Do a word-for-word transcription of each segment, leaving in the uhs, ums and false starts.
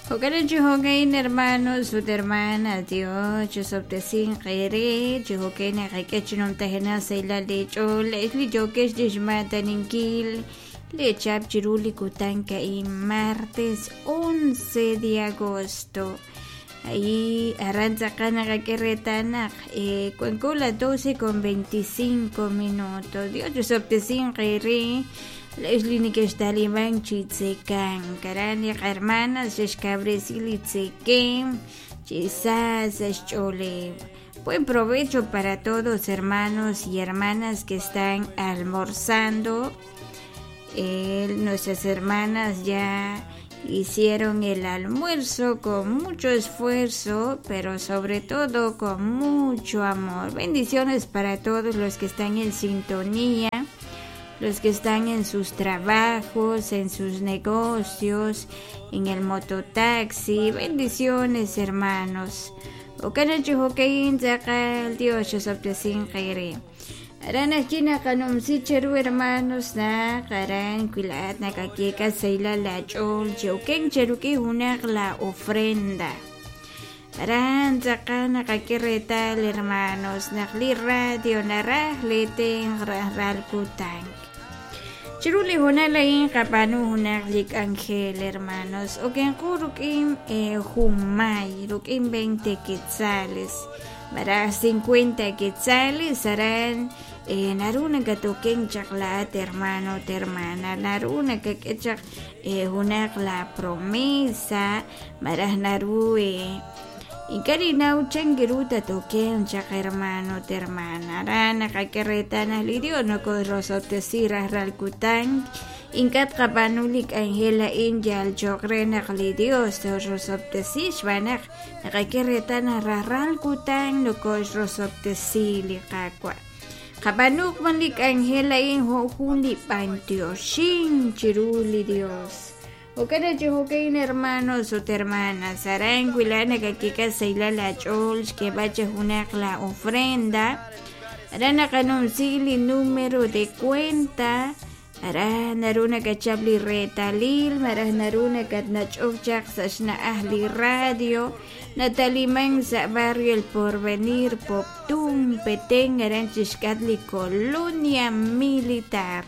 Jo'kan chi jo'kan hermanos ut hermanas Dios chusob'tesin qere chi jo'kan naqak'e chi numtajena sa' la lech'ool li yokex chixmataninkil le chap chiru li kutan ka'in martes once de agosto. Ahí aran tz'aqal naqak'e reetal naq eh, cuanco las doce con veinticinco minutos. Dios chusob'tesin qere Leslie nikextaliman chitzekan karan li hermanas xexkabresi li tzekem chisas xch'olew. Buen provecho para todos hermanos y hermanas que están almorzando. Eh, nuestras hermanas ya hicieron el almuerzo con mucho esfuerzo, pero sobre todo con mucho amor. Bendiciones para todos los que están en sintonía, los que están en sus trabajos, en sus negocios, en el mototaxi. Bendiciones, hermanos. Dios. Aran china kanumsi cheru hermanos na karan kuilat nakakeka saila la chol cheuken cheruki hunak la ofrenda. Aran tzaqan nakakiretal hermanos nakli radio naraj leten ral kutank. Chiruli hunalain kapanu hunak lik angel hermanos oken rukim eh, humay rukim veinte quetzales para cincuenta quetzales aran eh, naruna katoken chaklat hermano hermana naruna kakechak eh, hunak la promesa maraj naru eh, Inkarinaw changiruta token chak hermano hermana arana kakeretana lidio no korosotesira ralkutan inkat kapanulik angela injal chokrenak li Dios torosotesi xbanak nakakeretana raralkutan no korosotesi liqakwa kapanuk manlik angela in hojuli pantioshin chiruli Dios. Okana chihokein hermanos o hermanas, aran kuilana kakika saila la chol, que bache hunak la ofrenda, aran kanunsili número de cuenta, aran naruna kachabli retalil, marah naruna katnachokchak sashna ahli radio, Nataliman sa barrio El Porvenir, Poptum, Petén, aran chishkatli colonia militar.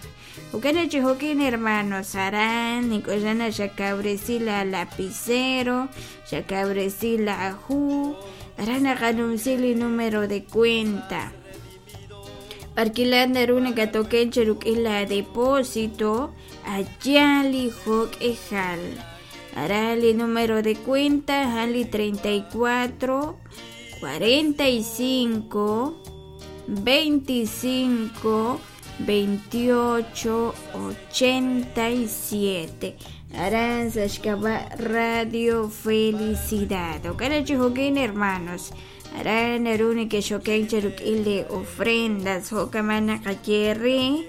Ukana chihokin hermanos aran, nikosana xakabresi la lapicero, xakabresi la ju, aran akanumsili número de cuenta. Parquilan naruna katoken cherukil la depósito, ayali hok ejal. Arali número de cuenta, jali treinta y cuatro, cuarenta y cinco, veinticinco, veintiocho ochenta y siete. Aranza Xcaba Radio Felicidad. Okana chihokin hermanos. Aran aruni que xoken cherukil de ofrendas. Hokamana kayerri.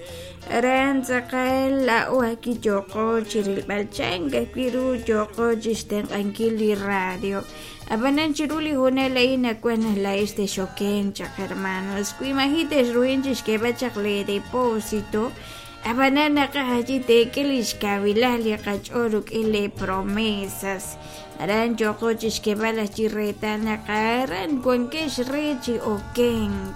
Aran tzaqal la oaki yoko chirilbalchan kiru yoko chisten ankili radio. Abanan chiruli hunela ina cuana la este xoken chak hermanos. Kuimajites ruin chishkeba chakle depósito. Abanan nakahaji tekelish kabilali kachoruk ile promesas. Aran yoko chishkeba la chirreta nakaran cuankesh rechi okenk.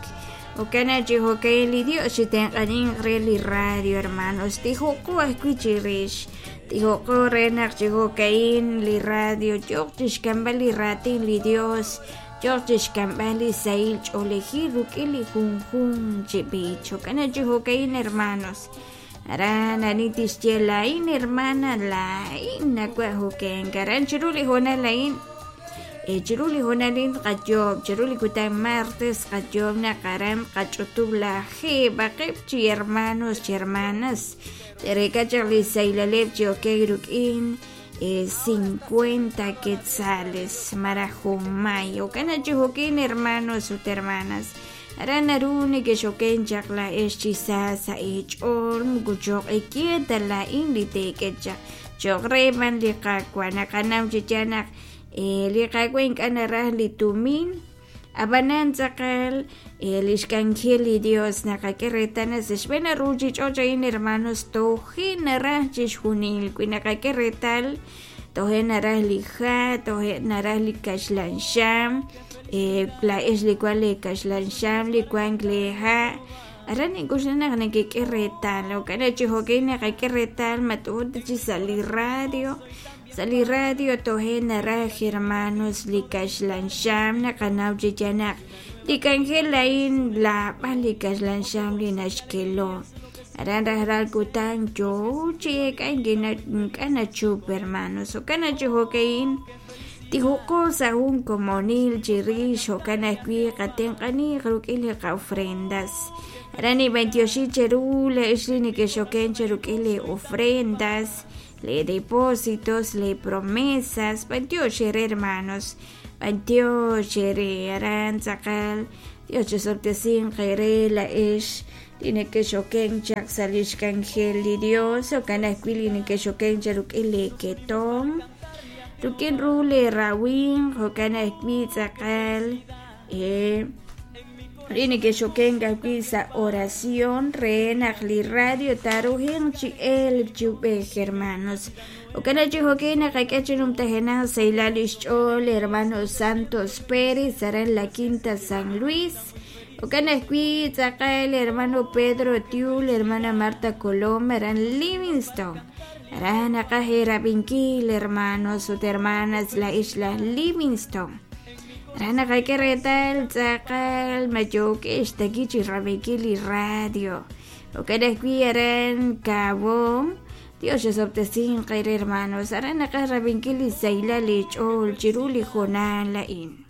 Okana chihokaili Dios chitenqanin reli radio hermanos. Tijoko escuchirish. Tijoko renak chihokain li radio. Yoqchishkambali ratin li Dios. Yoqchishkambali sail choleji rukili junjun chibich. Okana chihokain hermanos. Aran anitis lain hermana lain nakwahoken. Karan chiruli hona lain. Chiruli honalin qayob, chiruli kutan martes qayob na karam qach'utub la jeba qepchi hermanos chi hermanas terekachaq li saylaleb chi okeyruk'in cincuenta quetzales marajumay okana chijokin hermanos ut hermanas aran aruni que xoken chaq la ex chisa sa ech'ol mukuchoq ikieta la in li tekechaq choqreman li qakwa naqanaw chichanaq li qakwen k'anaraj li tumin abanan tzaqal lixkanjel li Dios naqak'erretana sexb'ena ruchich'och ayin hermanos tojin naraj chixjunil wi naqak'erretal Toje' naraj li ha', toje' naraj li kaxlan xam, laa'ex li wan li kaxlan xam, li wank li ha', aran nink'oxla naq nakek'e reetal jo'kan chi jo'kan naqak'e reetal ma t'ujup ta chik sa' li radio, sa' li radio toje' naraj hermanos li kaxlan xam naqanaw chi yaal naq li k'anjel a'in lab'al li kaxlan xam li naxkelo aran rajlal kutan yoo chi eek'ank ink'a' nachup hermanos jo'kan naq chi jo'ka'in tijuq'o sa' jun komonil chirix jo'kan ajwi' qatenq'aniiq rik'in li qa-ofrendas aran ninb'antioxi cheru la'ex li nekexoken cha rik'in li ofrendas, li depósitos, li promesas, b'antiox eere hermanos, b'antiox eere aran tz'aqal Dios chisob'tesinq eere la'ex li nekexoken chaq sa' lix k'anjel li Dios jo'kan ajwi' li nekexoken cha rik'in li ketom rik'in ru li rawimq jo'kan ajwi' tz'aqal li nekexoken ajwi' sa' oración re naq li radio taarujenq chi elk chi ub'ej hermanos jo'kan naq chi jo'kan naqak'e chi numtajenaq sahilal lix ch'ool hermano Santos Pérez aran la Quinta San Luis jo'kan ajwi' tz'aqal hermano Pedro Tiul hermana Marta Colom aran Livingston aran naqaj erab'inkil hermanos ut hermanas la isla Livingston aran naqak'e reetal tz'aqal ma yook'ex taki chi rab'inkil li radio jo'kan ajwi' aran Cabo Dios chisob'tesinq eere hermanos aran naqaj rab'inkil li sahilal li ch'ool chiru li hoonal a'in.